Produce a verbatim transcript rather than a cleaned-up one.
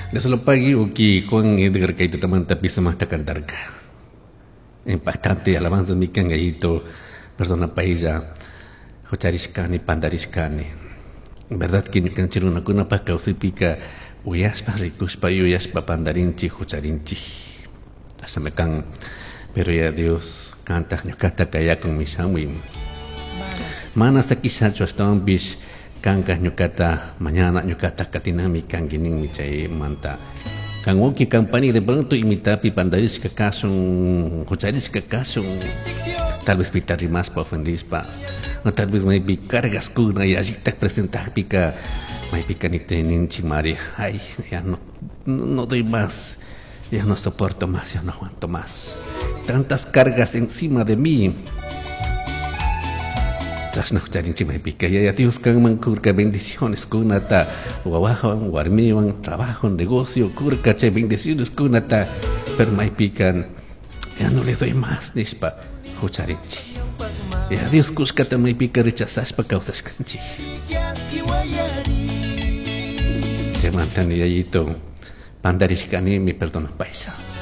Dios lo pague uki Juan Edgar kaytatamanta pisumaqta cantarka. Impactante alabanza mi kan yayito, perdona paylla hucharishkani, pandarishkani. Verdad que ñukanchik runakunapaq kawsaypika uyashpa rikushpa yuyashpa pandarinchik hucharinchik. Chashnami kan. Pero ya Dios kantaq ñukata kayakun shamuy. Mana sakishachu ashtawanpish kanka ñukata mañana ñukata katinami kanki ninmi chaymanta. Kan wawki kan pani de pronto imitapi pandarishka kashun, hucharishka kashun, tal vez pita rimashpa ofendishpa, o tal vez maypi cargas kuna yallitak presentakpika maypika ninchik mari, ay, ya no, no doy más, ya no soporto más, ya no aguanto más. Tantas cargas encima de mí. Chashna hucharinchik maypika yaya Dios kanman kurka bendiciones kunata wawawan warmiwan trabajo negocio kurka chay bendiciones kunata pero maypika ya no le doy más nishpa hucharinchik. Ya Dios kushkata maypika rechazashpa kawsashkanchik. Chaymanta ni yayito pandarishkanimi perdonapaysa.